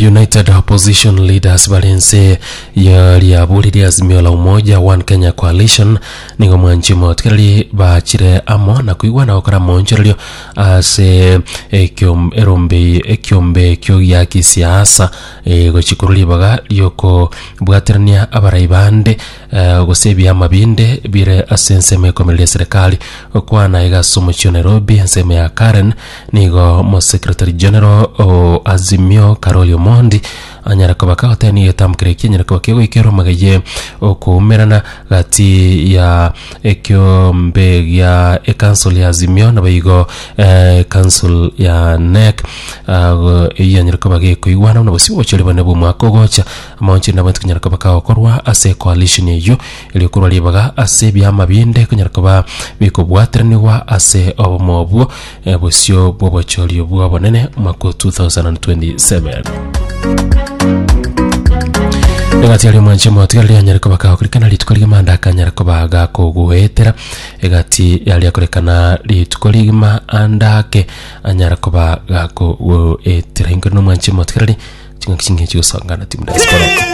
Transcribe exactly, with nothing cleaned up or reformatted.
United Opposition Leaders barense ya riaburi ria Azimio la Umoja One Kenya Coalition nigo mwanchi motigereri bachire amo na kuigwana gokora monchorerio ase ekiom- erombe ekiombe ekio gia kisiasa eh, gochikuru ribaga riokobwaterania abarai bande eh, gose ebiama binde bire ase ensemo ekomereria serikali okwana iga ase omochie o Nairobi ensemo ya Karen nigo mo secretary general o Azimio Caroli Omondi anyara koba kagotebia egetambo eki anyara koba kegoikerwa mageye okoumerana gati ya ekiombe gia ecouncil ya Azimio nabo igo eh, council ya NEC uh, eyio yanyara koba gekoigwana buna bosio obochori bone bwa omwaka ogocha amaonchori nabo konyara koba kagokorwa ase coalition eyio erio korwa ribaga ase ebiama binde konyara koba bikobwateranigwa ase obomo obwo eh, bosio bwa obochori obwo obonene omwaka o two thousand and twenty-seven. Egati aria omwanche motigareri anyare koba kagokorekana rituko rigima ndakanyara koba gakogoetera egati yaria korekana rituko rigima andake anyara koba gakogoetera inkori na omwanche motigareri ching'aki chinge chigosangana timu diaspora.